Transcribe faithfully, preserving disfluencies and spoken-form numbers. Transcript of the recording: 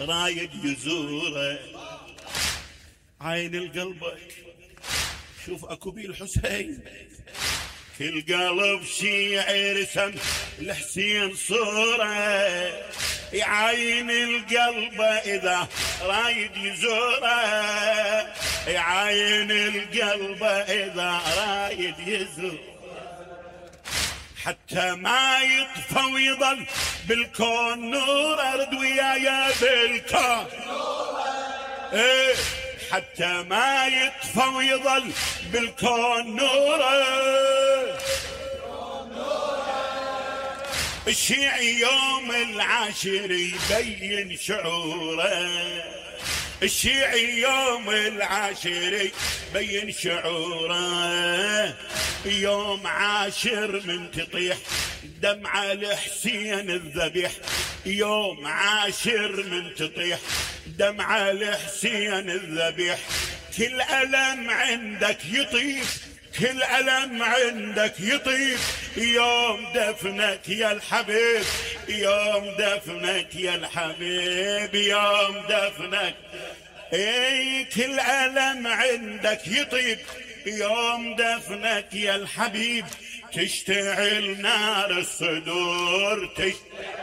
رايد يزوره. عين القلبك شوف اكو بيه الحسين، كل قلب شيعي رسم الحسين صوره. يعين القلب اذا رايد يزوره، يعين القلب اذا رايد يزوره، حتى ما يطفى ويظل بالكون نور. ارد ويايا بالكون ايه، حتى ما يطفى ويظل بالكون نوره. الشيعي يوم العاشر يبين شعوره، الشيعي يوم العاشر يبين شعوره. يوم عاشر من تطيح دمعة الحسين الذبيح، يوم عاشر من تطيح دمعة الحسين الذبيح. كل ألم عندك يطيب، كل ألم عندك يطيب، يوم دفنك يا الحبيب، يوم دفنك يا الحبيب، يوم دفنك. اي كل ألم عندك يطيب، يوم دفنك يا الحبيب. تشتعل نار الصدور، تشتعل